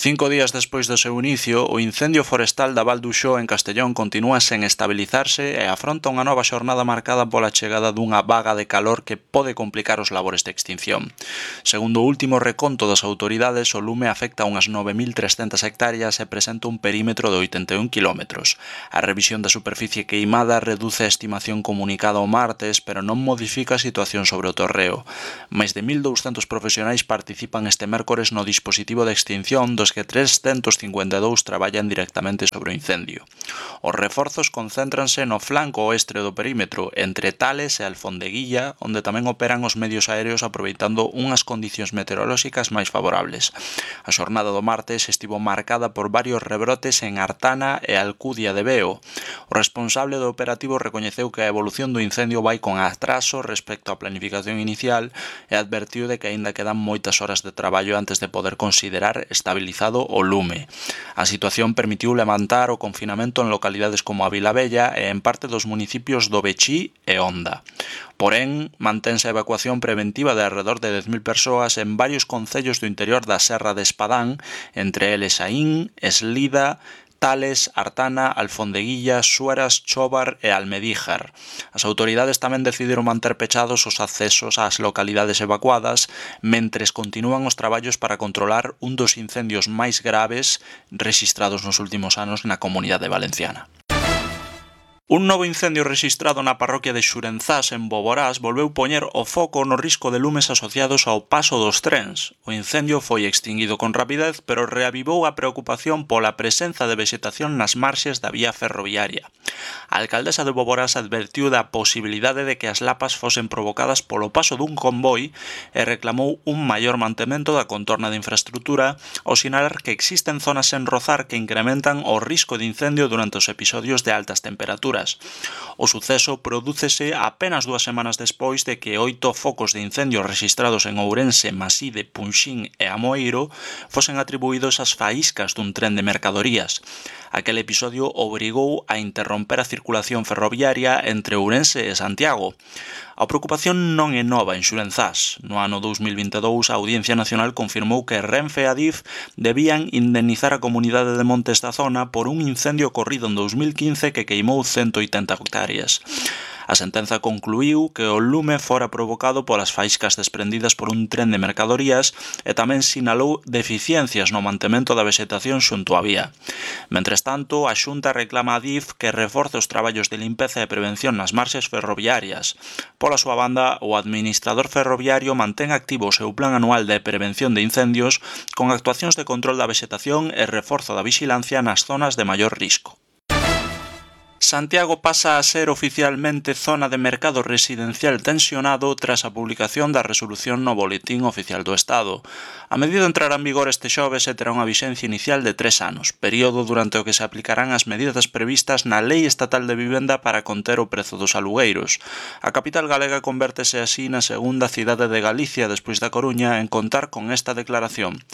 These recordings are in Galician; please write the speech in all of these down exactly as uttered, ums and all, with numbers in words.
Cinco días despois do seu inicio, o incendio forestal da Val d'Uxó en Castellón continúa sen estabilizarse e afronta unha nova xornada marcada pola chegada dunha vaga de calor que pode complicar os labores de extinción. Segundo o último reconto das autoridades, o lume afecta unhas nove mil trescentas hectáreas e presenta un perímetro de oitenta e un quilómetros. A revisión da superficie queimada reduce a estimación comunicada o martes, pero non modifica a situación sobre o torreo. Máis de mil douscentos profesionais participan este mércores no dispositivo de extinción, dos que trescentos cincuenta e dous traballan directamente sobre o incendio. Os reforzos concéntranse no flanco oeste do perímetro, entre Tales e Alfondeguilla, onde tamén operan os medios aéreos aproveitando unhas condicións meteorolóxicas máis favorables. A xornada do martes estivo marcada por varios rebrotes en Artana e Alcudia de Veo. O responsable do operativo recoñeceu que a evolución do incendio vai con atraso respecto á planificación inicial e advertiu de que aínda quedan moitas horas de traballo antes de poder considerar estabilizado o lume. A situación permitiu levantar o confinamento en localidades como a Vilabella e en parte dos municipios do Bechí e Onda. Porén, mantense a evacuación preventiva de alrededor de dez mil persoas en varios concellos do interior da Serra de Espadán, entre eles Aín, Eslida, Tales, Artana, Alfondeguilla, Sueras, Chobar e Almedíjar. As autoridades tamén decidiron manter pechados os accesos ás localidades evacuadas, mentres continúan os traballos para controlar un dos incendios máis graves rexistrados nos últimos anos na Comunidade Valenciana. Un novo incendio rexistrado na parroquia de Xurenzás, en Boborás, volveu poñer o foco no risco de lumes asociados ao paso dos trens. O incendio foi extinguido con rapidez, pero reavivou a preocupación pola presenza de vexetación nas marxes da vía ferroviaria. A alcaldesa de Boborás advertiu da posibilidade de que as lapas fosen provocadas polo paso dun convoi e reclamou un maior mantemento da contorna de infraestrutura ao sinalar que existen zonas sen rozar que incrementan o risco de incendio durante os episodios de altas temperaturas. O suceso prodúcese apenas dúas semanas despois de que oito focos de incendio rexistrados en Ourense, Maside, Punxín e Amoeiro fosen atribuídos ás faíscas dun tren de mercadorías. Aquel episodio obrigou a interromper a circulación ferroviaria entre Ourense e Santiago. A preocupación non é nova en Xurenzás. No ano dous mil vinte e dous, a Audiencia Nacional confirmou que Renfe e Adif debían indemnizar a comunidade de montes da zona por un incendio ocorrido en dous mil quince que queimou cento oitenta hectáreas. A sentenza concluíu que o lume fora provocado polas faíscas desprendidas por un tren de mercadorías e tamén sinalou deficiencias no mantemento da vexetación xunto á vía. Mentres tanto, a Xunta reclama a Adif que reforce os traballos de limpeza e prevención nas marxes ferroviarias. Pola súa banda, o administrador ferroviario mantén activo o seu plan anual de prevención de incendios con actuacións de control da vexetación e reforzo da vixilancia nas zonas de maior risco. Santiago pasa a ser oficialmente zona de mercado residencial tensionado tras a publicación da resolución no Boletín Oficial do Estado. A medida entrará en vigor este xoves e terá unha vixencia inicial de tres anos, período durante o que se aplicarán as medidas previstas na Lei Estatal de Vivenda para conter o prezo dos alugueiros. A capital galega convértese así na segunda cidade de Galicia despois da Coruña en contar con esta declaración.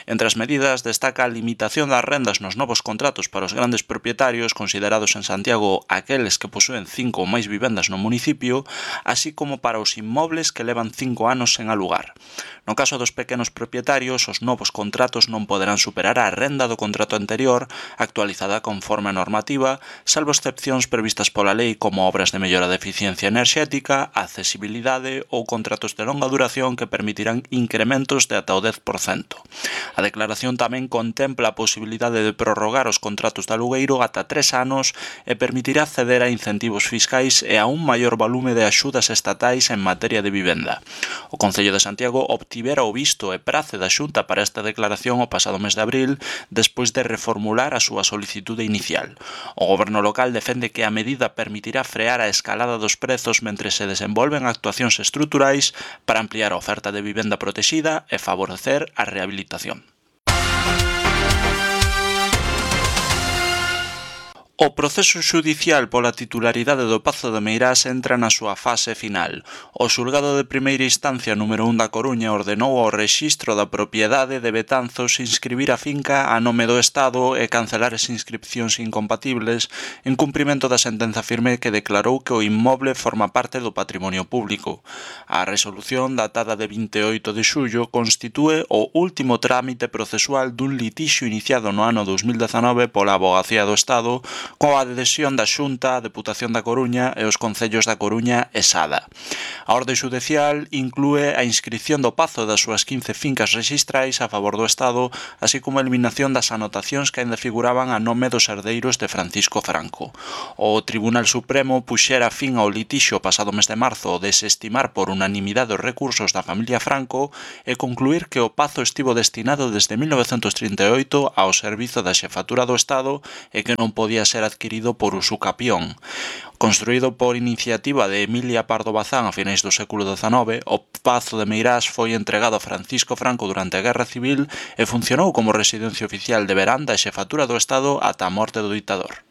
Entre as medidas destaca a limitación das rendas nos novos contratos para os grandes propietarios considerados en Santiago aqueles que posúen cinco ou máis vivendas no municipio, así como para os inmobles que levan cinco anos sen alugar. No caso dos pequenos propietarios, os novos contratos non poderán superar a renda do contrato anterior, actualizada conforme a normativa, salvo excepcións previstas pola lei como obras de mellora de eficiencia enerxética, accesibilidade ou contratos de longa duración que permitirán incrementos de ata o dez por cento. A declaración tamén contempla a posibilidade de prorrogar os contratos de alugueiro ata tres anos e permitirá acceder a incentivos fiscais e a un maior volume de axudas estatais en materia de vivenda. O Concello de Santiago obtivera o visto e prace da Xunta para esta declaración o pasado mes de abril, despois de reformular a súa solicitude inicial. O goberno local defende que a medida permitirá frear a escalada dos prezos mentres se desenvolven actuacións estruturais para ampliar a oferta de vivenda protexida e favorecer a rehabilitación. O proceso xudicial pola titularidade do Pazo de Meirás entra na súa fase final. O xulgado de primeira instancia número un da Coruña ordenou ao rexistro da propiedade de Betanzos inscribir a finca a nome do Estado e cancelar as inscripcións incompatibles en cumprimento da sentenza firme que declarou que o inmoble forma parte do patrimonio público. A resolución datada de vinte e oito de xullo constitúe o último trámite procesual dun litixio iniciado no ano dous mil dezanove pola Avogacía do Estado coa adhesión da Xunta, a Deputación da Coruña e os concellos da Coruña e Sada. A orde xudicial inclúe a inscrición do Pazo das súas quince fincas rexistrais a favor do Estado, así como a eliminación das anotacións que ainda figuraban a nome dos herdeiros de Francisco Franco. O Tribunal Supremo puxera fin ao litixio pasado mes de marzo ao desestimar por unanimidade os recursos da familia Franco e concluir que o Pazo estivo destinado desde mil novecentos trinta e oito ao servizo da Xefatura do Estado e que non podía ser adquirido por usucapión. Construído por iniciativa de Emilia Pardo Bazán a finais do século dezanove, o Pazo de Meirás foi entregado a Francisco Franco durante a Guerra Civil e funcionou como residencia oficial de verán da Xefatura do Estado ata a morte do ditador.